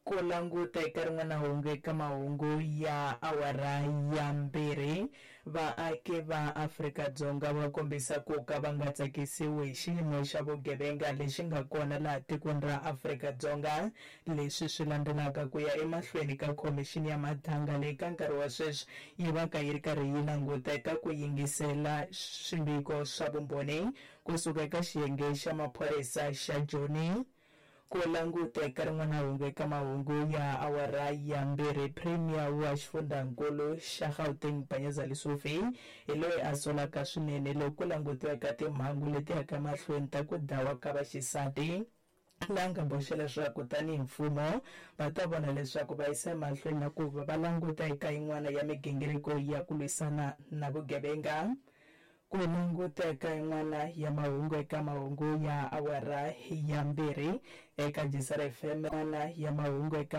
Ku languta eka rin'wana hungu eka mahungu ya awara ya 2, vaaki va Afrika-Dzonga va kombisa ku ka va nga tsakisiwi hi xiyimo xa vugevenga lexi nga kona laha tikweni ra Afrika-Dzonga. Leswi swi landzelaka ku ya emahlweni ka khomixini ya mathanga leyi ka nkarhi wa sweswi yi va ka yi ri karhi yi languta eka ku yingisela swiviko swa vumbhoni kusuka eka xiyenge xa maphorisa xa Joni. Ku languta eka rin'wana hungu eka mahungu ya awara ya 2, Premier wa xifundzankulu xa Gauteng Panyaza Lesufi hi loyi a solaka swinene loko ku langutiwa eka timhangu leti yaka mahlweni ta ku dlawa ka vaxisati, laha nga boxa leswaku tanihi mfumo va ta vona leswaku va yisa emahlweni na ku va va languta eka yin'wana ya migingiriko ya ku lwisana na vugevenga. Ku languta eka yin'wana ya mahungu eka mahungu ya awara ya 2 eka Jisara FM, yin'wana ya mahungu eka.